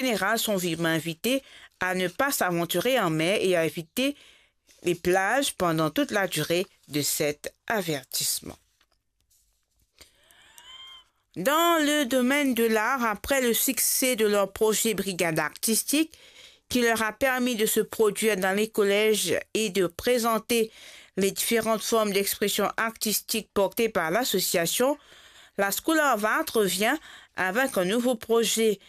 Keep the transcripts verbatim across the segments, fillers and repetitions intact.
Général sont vivement invités à ne pas s'aventurer en mer et à éviter les plages pendant toute la durée de cet avertissement. Dans le domaine de l'art, après le succès de leur projet Brigade artistique, qui leur a permis de se produire dans les collèges et de présenter les différentes formes d'expression artistique portées par l'association, la School of Art revient avec un nouveau projet,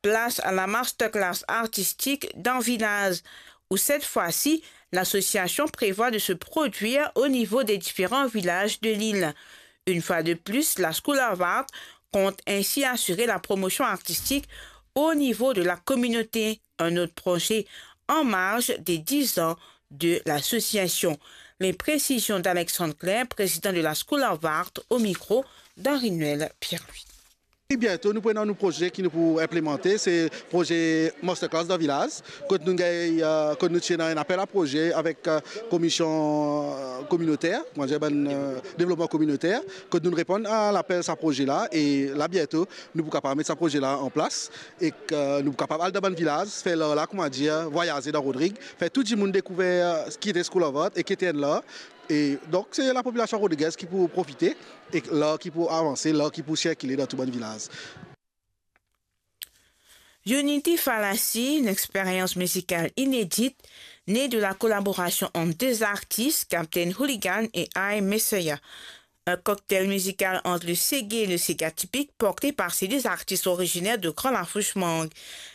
Place à la masterclass artistique dans Villaz, où cette fois-ci, l'association prévoit de se produire au niveau des différents villages de l'île. Une fois de plus, la School of Art compte ainsi assurer la promotion artistique au niveau de la communauté, un autre projet en marge des dix ans de l'association. Les précisions d'Alexandre Claire, président de la School of Art, au micro d'Henri-Noël Pierre-Louis. E biento nou pou ena nou proze ki nou pou inplimante, se proze Masterclass dan Vilaz, kot nou gagn, euh, kot nou ti ena enn apel a proze avek, euh, komision, euh, kominoter, kouma dir, bann, euh, devlopman kominoter, kot nou reponn a lapel sa proze la, e la biento nou pou kapav met sa proze la an plas, e ke nou pou kapav al dan bann vilaz, fer lar la, kouma dir, vwayaze dan Rodrig, fer tou dimoun dekouver, euh, ki ete School of Art e ki ete enn lar. E donk, se lapopilasion rodrigez ki pou profite e lar ki pou avanse, lar ki pou sirkile dan tou bann vilaz. Unity Fallacy, une expérience musicale inédite, née de la collaboration entre deux artistes, Captain Hooligan et I Messiah. Un cocktail musical entre le séga et le séga typique, porté par ces deux artistes originaires de Grand Lafourche Mangue.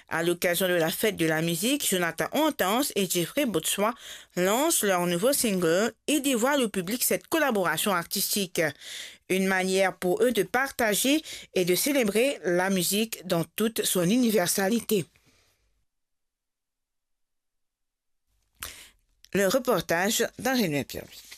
À l'occasion de la fête de la musique, Jonathan Hortense et Jeffrey Baudoin lancent leur nouveau single et dévoilent au public cette collaboration artistique. Une manière pour eux de partager et de célébrer la musique dans toute son universalité. Le reportage d'Henri-Noël Pierre-Louis.